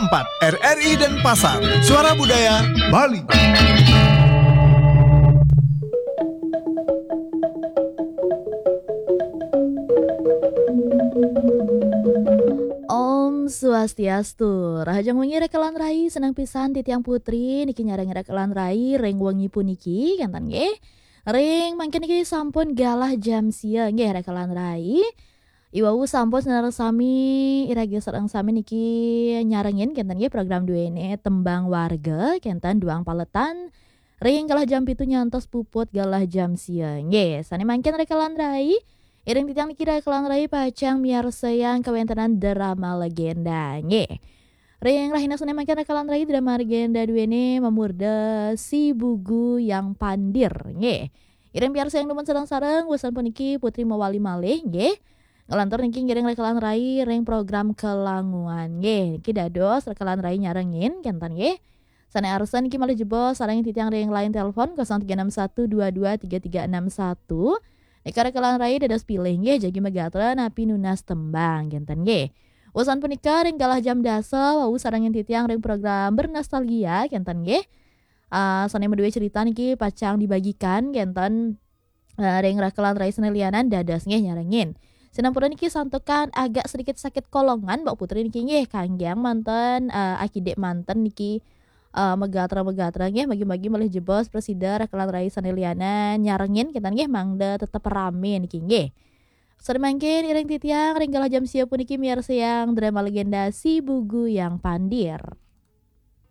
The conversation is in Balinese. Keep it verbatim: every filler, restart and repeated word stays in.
empat R R I Denpasar, Suara Budaya Bali. Om Swastiastu. Rahajeng wengi rekelan rai, seneng pisan titiang Putri niki nyarengin rekelan rai ring wengi puniki, kenten nggih. Ring mangkin niki sampun galah jam sia nggih rekelan rai. Iwau sampun sinareng sami, iragi sareng sami niki nyarengin kenten nggih program duene Tembang Warga, kenten duang paletan ring galah jam pitu nyantos puput galah jam sia. Nggih, sane mangkin rekelan rai, iring titiang niki rekelan rai pacang miarsayang kawentenan drama legenda. Nggih. Ring rahina sane mangkin rekelan rai, drama legenda duene mamurda Si Bugu Yang Pandir. Nggih. Iring piarsayang dumun sareng-sareng, wusan puniki Putri mawali malih nggih. Ngelantur niki ngiring rekelan rai ring program Kelanguan nggih. Niki dados rekelan rai nyarengin kenten nggih. Sane arsa niki malih jebos sareng titiang ring line telepon kosong tiga enam satu dua dua tiga tiga enam satu. Nika rekelan rai dados pilih nggih, jagi magatra napi nunas tembang kenten nggih. Wusan punika ring galah jam dasa wau sarengin titiang ring program Bernostalgia kenten nggih. Ah, sane madue cerita niki pacang dibagikan kenten, eh, ring rekelan rai sane lianan dados nggih nyarengin. Sinampura niki santukan agak sedikit sakit kolongan, Mbak Putri niki nggih, kanggiang manten, eh, akidik manten niki, eh, megatra-megatra nggih, magi-magi malih jebos prasida rekelan rai sane lianan nyarengin kenten nggih, mangda tetep rame niki nggih. Sane mangkin iring titiang ring galah jam sia puniki miarsayang drama legenda Si Bugu Yang Pandir.